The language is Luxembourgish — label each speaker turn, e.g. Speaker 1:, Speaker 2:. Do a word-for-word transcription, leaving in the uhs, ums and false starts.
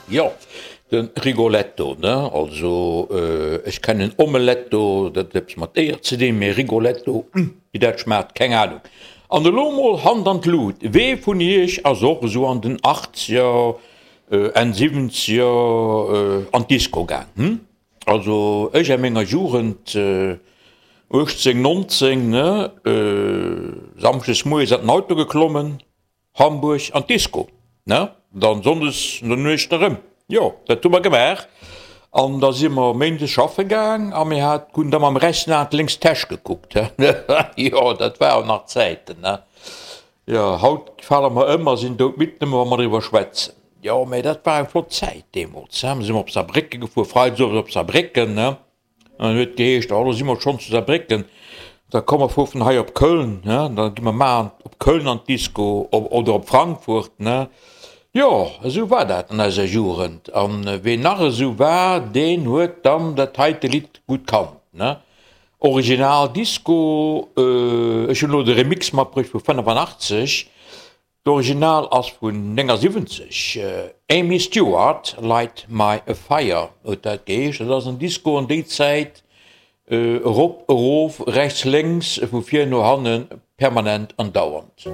Speaker 1: Jo, de Rigoletto, ne? Also, ech kennen Omeletto, dat huet eppes mat Eeër ze dinn, mee Rigoletto, wéi dat schmaacht, keng Ahnung. An elo mol Hand an d'Lut, wee vun iech ass och esou an den Achtzeger, Enn Siwwenzeger an d'Disco gaang, hm? Also ech a menger Jugend, uechtzéng, nonzéng, ne, Samschdes moies an den Auto geklommen, Hamburg an d'Disco, ne, dann Sonndes no Nuecht erëm. Jo, dat hu mer gemaach. An da si mer Méindes schaffe gaang a mir hat, hunn da mam rechten Aen d'lénks Täsch gekuckt, he. Jo, dat waren nach Zäiten, ne. Jo, haut fale mer ëm a sinn doudmidd, nëmme wa mer driwwer schwätzen. Jo, mä dat war eng flott Zäit deemools, he. Mir si mer op Saarbrécken gefuer, freides owes op Saarbrécken, ne. An dann huet et geheescht, oh, lo si mer schonn zu Saarbrécken, da komm mer fuer vun hei op Köln, ne, da gi mer mar op Köln an d'Disco oder op Frankfurt, ne. Jo, esou war dat an eiser Jugend. An ween nach esou war, deen huet dann dat heite Lidd gutt kannt, ne. Original Disco, ech hunn elo de Remix matbruecht vu fënnefannachtzeg, d'Original ass vun néngasiwwenzeg, Amy Stewart, Light My Fire huet dat geheescht. Dat ass en Disco an déi Zäit, erop, erof, rechts, lénks, vu vir no hannen, permanent an dauernd.